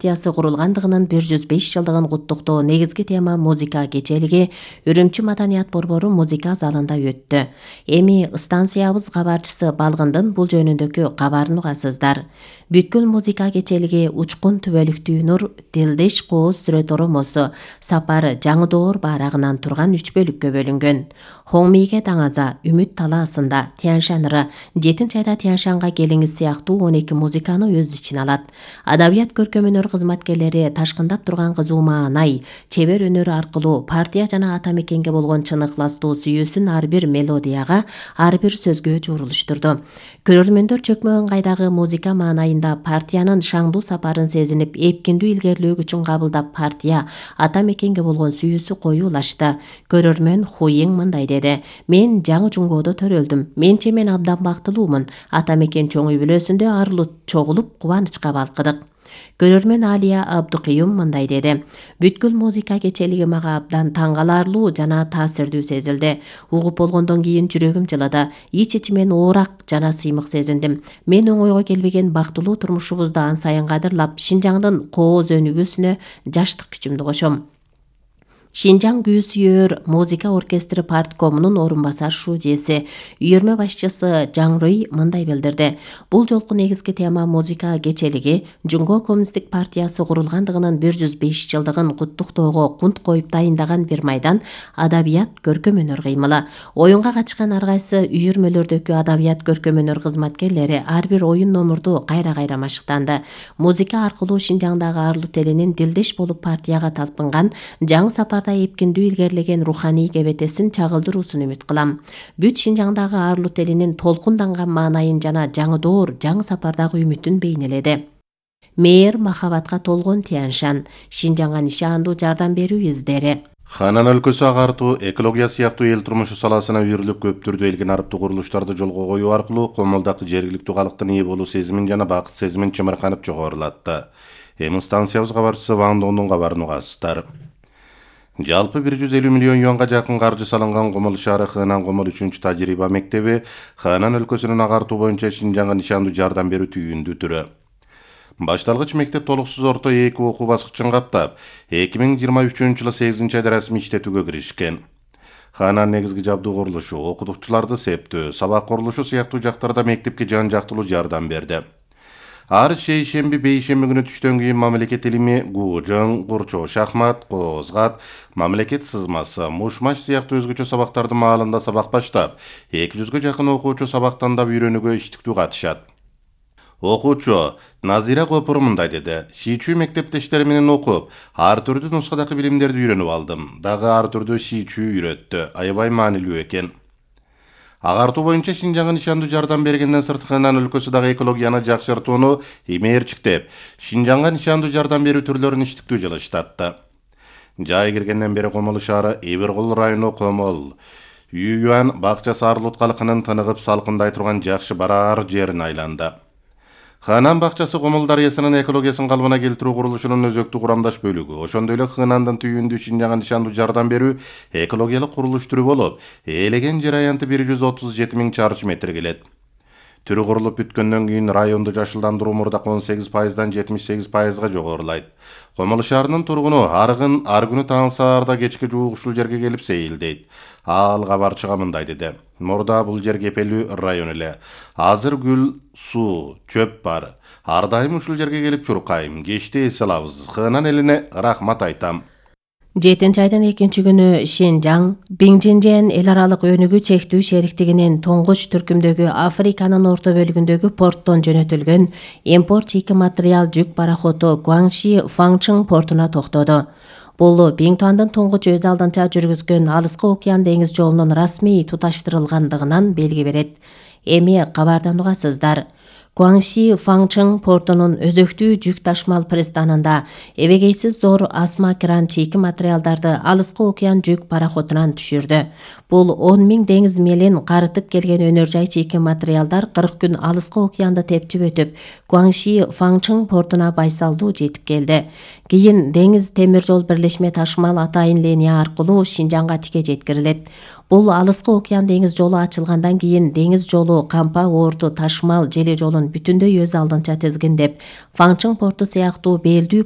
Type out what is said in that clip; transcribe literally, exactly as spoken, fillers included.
партиясы курулгандыгынын бир жүз беш жылдыгын куттуктоо негизги тема музыка кечелиги Үрүмчү Маданият борбору музыка залында өттү. Эми станциябыз кабарчысы Балгындын бул жөнүндөгү кабарын угасыздар. Бүткүл музыка кечелиги Учкун түбөлүктүү нур, Дилдеш кооз сүрөт оромосу, Сапар Жаңыдоор баарагынан турган үч бөлүккө бөлүнгөн. Хоңмийге Даңаза, Үмүт талаасында, Тяншаныры, Жетинчи айда Тяншанга келиңиз сыяктуу он эки музыканы өз ичине алат. Адабият көркөм өнөр кызматкерлери ташкындап турган кызуу маанай, чебер өнөр аркылуу партия жана ата мекенге болгон чын ыкластуу сүйүүсүн ар бир мелодияга, ар бир сөзгө журулуштурду. Көрөрмөндөр чөкмө ыңгайдагы музыка маанайында партиянын шаңдуу сапарын сезинип, эпкиндүү илгерилөө күчүн кабылдап, партия ата мекенге болгон сүйүүсү коюулашты. Көрөрмөн Хуйиң мындай деди: "Мен жаңы жуңгоодо төрөлдүм. Менче мен абдан бактылуумун. Ата мекен чоң үй бүлөсүндө арылып чогулуп кубанычка балкыдык." Көрөрмөн Алия Абдукыюм мындай деди: "Бүткүл музыка кечелиги мага абдан таң каларлуу жана таасирдүү сезилди. Угуп болгондон кийин жүрөгүм жылады. Ич-ичимен оорак жана сыймык сезиндим. Мен оңойго келбеген бактылуу турмушубузду ан сайын кадырлап, Шинжаңдын кооз өнүгүүсүнө жаштык күчүмдү кошом." Шинжаң күү сүйөр музыка оркестри парткомунун орун басар шуудеси, үйөрмө башчысы Жаңрый мындай билдирди: "Бул жолку негизги тема музыка кечелиги Жуңго коммунисттик партиясы курулгандыгынын бир жүз беш жылдыгын куттуктоого кунт коюп дайындаган бир майдан адабият көркөм өнөр кыймылы. Оюнга катышкан ар кайсы үйөрмөлөрдөгү адабият көркөм өнөр кызматкерлери ар бир оюн номурду кайра-кайра машыктанды. Музыка аркылуу Шинжаңдагы арлуу телинин дилдеш болуп партияга талпынган, жаңы сапар эпкиндүү илгерлеген руханий кебетесин чагылдыруусун үмүт кылам. Бүт Шинжаңдагы арлуу телинин толкунданган маанайын жана Жаңыдоор жаңы сапардагы үмүтүн бейнеледи. Мээр махабатка толгон Тяншан, Шинжаңга нишандуу жардам берүү издери. Ханан өлкөсү агартуу, экология сыяктуу эл турмушу саласына үйрүлүп көп түрдүү элген арыптуу курулуштарды жолго коюу аркылуу Комолдагы жергиликтүү калктын ээ болуу сезимин жана бакыт сезимин чымырканып жогорулатты. Эми станциябыз кабарчысы Ван Дондун кабарын угасыздар. Жалпы бир жүз элүү миллион юанга жакын каржы салынган Комол шаары Хынан Комол үчүнчү тажрыйба мектеби Ханан өлкөсүнүн агартуу боюнча Шинжаңга нишандуу жардам берүү түйүндүү түрү. Башталгыч мектеп толуксуз орто эки окуу баскычын каптап, эки миң жыйырма үчүнчү жылы сегизинчи айда расмий иштетүүгө киришкен. Ханан негизги жабдуу курулушу, окутуучуларды септөө, сабак курулушу сыяктуу жактарда мектепке жан жактылуу жардам берди. Ар шейшемби, бейшемби күнү түштөн кийин мамлекет илими, гужың, курчоо шахмат, коозгат, мамлекет сызмасы, мушмаш сыяктуу өзгөчө сабактарды маалында сабак баштап, эки жүзгө жакын окуучу сабактандап үйрөнүүгө иштиктүү катышат. Окуучу Назира Копур мындай деди: "Шийчүү мектептештери менен окуп, ар түрдүү нускадагы билимдерди үйрөнүп алдым. Дагы ар түрдүү шийчүү үйрөттү. Аябай маанилүү экен." Агартуу боюнча Шинжаңга нишандуу жардам бергенден сырт Хынан өлкөсү дагы экологияны жакшыртууну имээрчиктеп, Шинжаңга нишандуу жардам берүү түрлөрүн иштиктүү жылыштатты. Жай киргенден бери Комол шаары Эбиркул району Комол, Ююан бакчасы Арлут калкынын тыныгып салкындай турган жакшы бараар жерине айланды. Ханан бакчасы Комол дарыясынын экологиясын калыбына келтирүү курулушунун өзөктүү курамдаш бөлүгү. Ошондой эле Хынандын түйүндүү Шинжаңга нишандуу жардам берүү экологиялык курулуш түрү болуп, ээлеген жер аянты бир жүз отуз жети миң чарчы метр келет. Түрү курулуп бүткөндөн кийин районду жашылдандыруу мурдак он сегиз пайыздан жетимиш сегиз пайызга жогорулайт. Комол шаарынын тургуну аргын ар күнү таң саарда кечке жуук ушул жерге келип сейилдейт. Ал кабарчыга мындай деди: "Мурда бул жер кепелүү район эле. Азыр гүл, суу, чөп бар. Ар дайым ушул жерге келип чуркайм. Кечте эс алабыз. Хынан элине рахмат айтам." жетинчи айдын экинчи күнү Шинжаң, Биңжинжен эл аралык өнүгүү чектүү шериктигинин туңгуч түркүмдөгү Африканын орто бөлүгүндөгү порттон жөнөтүлгөн импорт чийки материал жүк пароходу Гуаңши Фаңчың портуна токтоду. Бул Биңтуандын туңгуч өз алдынча жүргүзгөн Алыскы океан деңиз жолунун расмий туташтырылгандыгынан белги берет. Эми кабардан угасыздар. Гуаңши Фаңчың портунун өзөктүү жүк ташмал пристанында эбегейсиз зор асма кран чийки материалдарды Алыскы океан жүк пароходунан түшүрдү. Бул он миң деңиз мелин карытып келген өнөр жай чийки материалдар кырк күн Алыскы океанды тепчип өтүп, Гуаңши Фаңчың портуна байсалдуу жетип келди. Кийин деңиз темир жол бирлешме ташмал атайын линия аркылуу Шинжаңга тике жеткирилет. Бул алыскы океан деңиз жолу ачылгандан кийин деңиз жолу Кампа, Орду, Ташмал желе жолун бүтүндөй өз алдынча тизгиндеп, Фаңчың порту сыяктуу белдүү